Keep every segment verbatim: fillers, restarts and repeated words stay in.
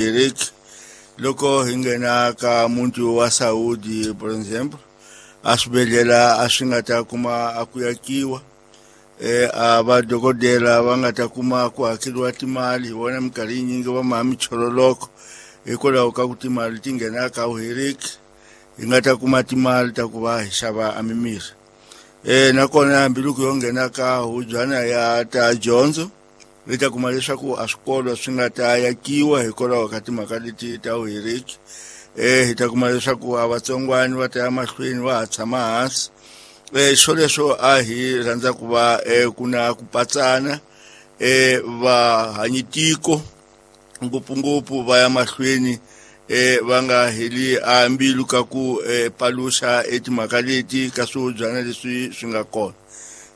Eric loko hi nghena ka muti wa Saudi, por exemple, a swibedhlele a swi nga ta kuma a ku yakiwa, eh a vadokodela va nga ta kuma ku hakeriwa timali. Hi vona minkarhi yinyingi va maha michololoko hikwalaho ka ku timali ti nghena ka uheriki, hi nga ta kuma timali ta ku va hi xava a mimirhi. Eh nakona hambiloko yo nghena ka hubyana ya ta dyondzo, hi ta kuma leswaku a swikolo swi nga ta yakiwa hikwalaho ka timhaka leti ta uheriki. Eh hi ta kuma leswaku a vatsongwani va ta ya mahlweni va ha tshama hansi. Eh swoleswo a hi rhandza ku va eh ku na ku patsana, eh va hanyitiko ngopfungopfu va ya mahlweni eh va nga heli a mbilu ka ku eh paluxa etimhaka leti ka swihubyana leswi swi nga kona.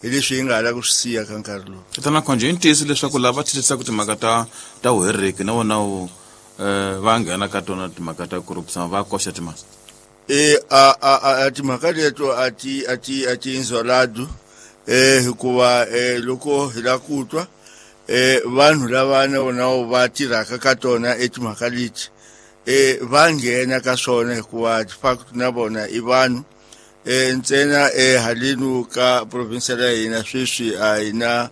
Hi leswi hi nga hala ku swi siya ka nkarhi lowu. Tatana Khonje, i ntiyiso leswaku lava thithisaka timhaka ta ta vuheriki na vona wu eh va nghena ka tona timhaka ta corruption, va koxa timali? Eh a a a timhaka leto a ti a ti a ti inzolado, eh hikuva eh loko hi la ku twa eh vanhu lava na vona va tirhaka ka tona etimhaka leti eh va nghena ka swona, hikuva de facto na vona i vanhu. Eh ntsena eh halenu ka province ya hina sweswi a hi na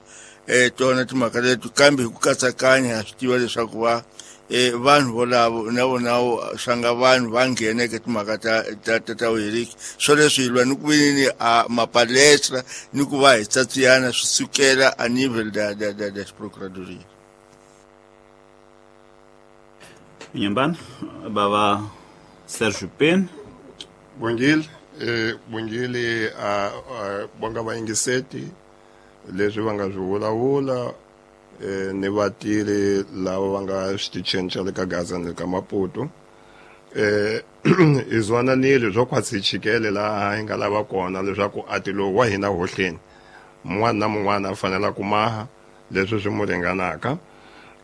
eh tona timhaka leti, kambe hi ku katsakanya ha swi tiva leswaku va eh vanhu volavo na vona swa nga vanhu va nghena eka timhaka ta ta ta ta vuheriki. Swoleswo hi lwa ni ku veni a mapalestra ni ku va hi tsatsiyana swi sukela a nível da da da da procuradoria. Nyambana baba Sergio Pen. Bongile, eh bongile a bonga vayingiseti leswi va nga swi vulavula eh ni vatirhi lava va nga switichini xa le ka Gaza ni le ka Maputo. Eh hi zwananile swo khwatsi chikele laha hi nga lava kona leswaku a ti lowu wa hina hohleni mun'wana na mun'wana a fanela ku maha leswi swi mu ringanaka.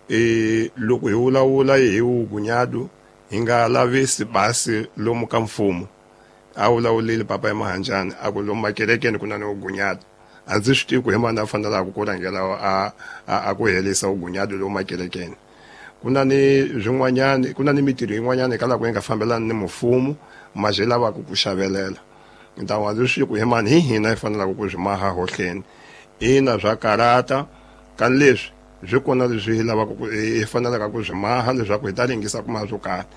Eh loko hi vulavula hi vugunyadu hi nga lavisi basi lomu ka mfumo. A vulavulile papa ya Mahanjani a ku lomu makerekeni ku na ni vugunyadu. A ndzi swi tivi ku hi mani a fanelaka ku rhangela a a ku herisa vugunyadu lomu makerekeni. Ku na ni swin'wanyani, ku na ni mitirho yin'wanyana hikwalaho ku yi nga fambelani ni mfumo, ma byi lavaka ku xavelela. Ntamu a ndzi swi tivi ku hi mani hi hina hi fanelaka ku swi maha hohleni. Ina swa karata, kani leswi swi kona leswi hi lavaka ku hi fanelaka ku swi maha leswaku hi ta ringisa ku maha swo karhi.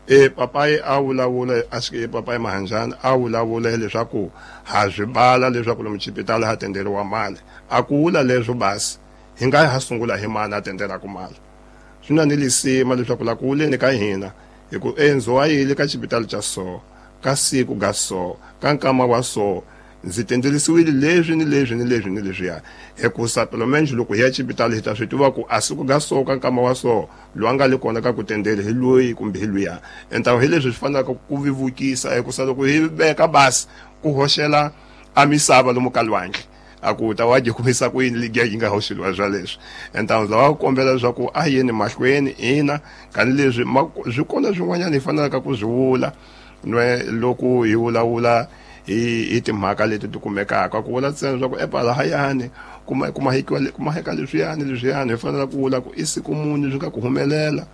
E papayi a vulavula a swi papayi Mahanjani a vulavula leswaku ha swi bala leswaku lomu xipitali ha tenderiwa mali. A ku vula leswo basi hi nga ha sungula hi mani a tendelaka mali. Swi na ni lisima leswaku la ku vuleni ka hina hi ku endzo wa yile ka xipitali xa so ka siku ga so ka nkama wa so ndzi tendelisiwile leswi ni leswi ni leswi ni leswiya. Hikusa pelo menje loko hi ya xipitali hi ta swi tiva ku a siku ga so ka nkama wa so loyi a nga le kona ka ku tendele hi loyi kumbe hi luya. Entawu hi leswi swi fanelaka ku vevukisa, hikusa loko hi veka basi ku hoxela a misava lomu ka lwandle a ku ta wa dyi kumisa ku yini ligiya yi nga hoxeliwa swa leswi. Entawu ndzi lava ku kombela leswaku a yeni mahlweni ina kani leswi swi kona swin'wanyana hi fanelaka ku swi vula nwe loko hi vulavula hi hi timhaka leti ti kumekaka. Ku vula ntsena leswaku epalahayani kuma kuma hikiwa kuma heka leswiyani leswiyani hi fanele ku vula ku i siku muni swi nga ku humelela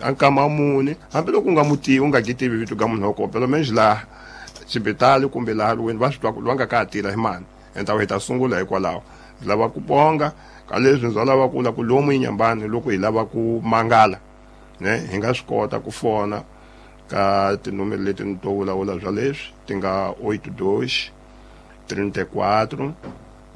a nkama muni, hambiloko u nga mu tivi u nga ki tivi vito ka munhu wa kona pelo menje laha xibitali kumbe laha lweni va swi twa ku loyi a nga ka ha tirha hi mani. Entawu hi ta sungula hikwalaho. Ndzi lava ku bonga ka leswi ndzi lava ku vula ku lomu Inhambane loko hi lava ku mangala ne hi nga swi kota ku fona ka tinomero leti ni to vulavula bya leswi ti nga oito dois trinta e quatro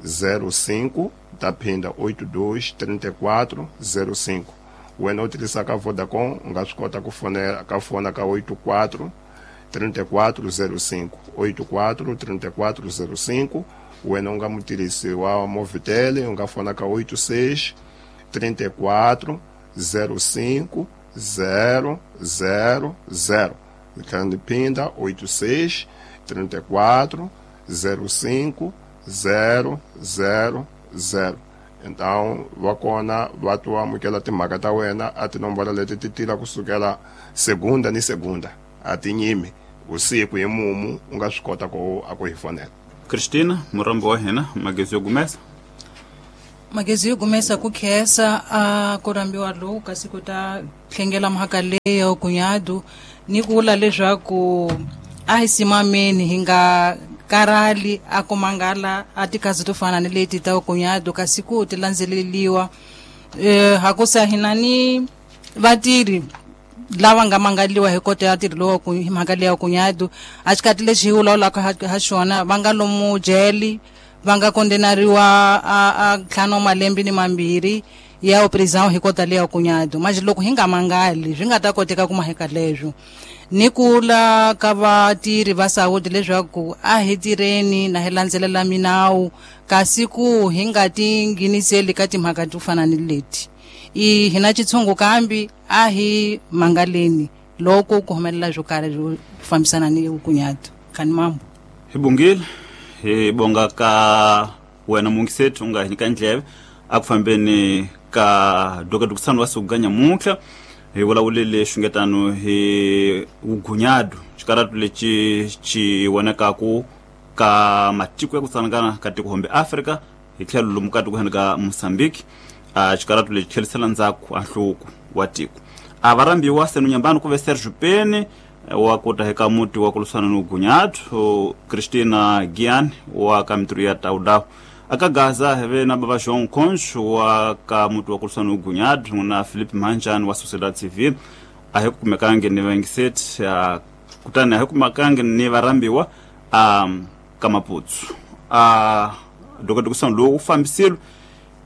zero cinco, ta phinda oito dois trinta e quatro zero cinco. Wena u tirhisaka Vodacom u nga swi kota ku fonela ka fona ka oito quatro trinta e quatro zero cinco, oito quatro trinta e quatro zero cinco. Wena u nga mutirhisi wa Movitel u nga fona ka oito seis trinta e quatro zero cinco zero zero zero. Ndzi phinda oito seis trinta e quatro zero cinco zero zero zero. Então va kona va to amukela timhaka ta wena a tinomboro leti ti tirha kusukela segunda ni segunda a ti nyimi usiku hi mumu u nga swi kota ku a ku hi fonela. Cristina, murhambi wa hina magezi yo gumesa. Magezi yo gumesa ku khensa a ku rambiwa loku kasi ku ta tlhengela mhaka leyo kunyadu ni ku vula leswaku a hi simameni hi nga karali a ku mangala a tikazi to fana ni leti ta kunyadu kasi ku ti landzeleliwa eh hakusa hina ni vatirhi lava nga mangaliwa hi kota ya tirhi lowu ku hi mhaka leya kunyadu a xikati lexi hi vulavulaka ha ha xona va nga lomu jele va nga kondenariwa a a ntlhanu wa malembe ni mambirhi ya prisão hi kota leya kunyadu manje loko hi nga mangali swi nga ta koteka ku maheka leswo ni kula ka vatirhi va Saudi leswaku a hi tirheni na hi landzelela minawu kasi ku hi nga ti ngheniseli ka timhaka to fana ni leti i hina xitshungu kambi a hi mangaleni loko ku humelela swo karhi swo fambisana ni vukunyatu kani mambo. Hi bongile hi bonga ka wena mungisethi u nga hi nyika ndleve a ku fambeni ka dokadokisano wa siku nyamuntlha hi vulavulele xungetano hi vugunyadu xikaratu lexi xi vonekaku ka matiko ya ku tsanangana ka tiko hombe Afrika hi tlhelo lomu ka tiko heni ka Mozambique a xikaratu lexi tlhelisela ndzhaku a nhluvuko wa tiko. A va rambiwa senu nyambani ku ve Sergio Peni wa kuta eka muti wa ku lwisana ni vugunyadu, Christina Gian wa ka mitirho ya Taudawu aka Gaza hi ve na bava João Concho wa ka muti wa ku lwisana ni vugunyadu na Philip Manjani wa Sociedade Civile. A hi kumekangi ni vaingiseti kutani a hi kumekangi ni varhambiwa a ka Maputsu. A dokodokisano lowu wu fambisile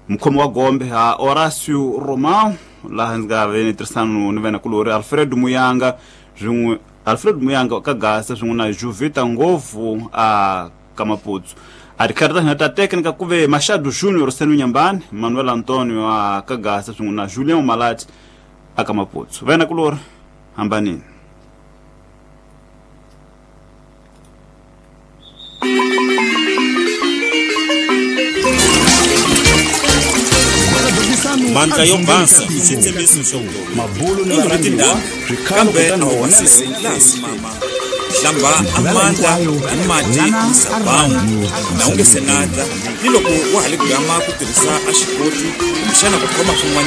mukhomi wa gombe ha Horacio Romão laha ndzi nga ve ni tirhisano ni venakulori Alfredo Muyanga swin'we Alfredo Muyanga ka Gaza swin'we na Juvita Ngovu a ka Maputsu. A tikhari ta hina ta teknika ku ve Machado Junior Senu Nyambani, Manuel Antonio a ka Gaza swin'we na Julian Malati a ka Maputsu. Venakulori hambanini. Mandla yo basa xitshembiso xo Mabulu ni i varhambiwa tindhawu swikhalo kambe kutani a wu honela basisi laha simama hlamba a mandla hi mati ni sabawu na u nge se nata ni loko wa ha le gama ku tirhisa a xikoti kumbexana ku khoma swin'wana.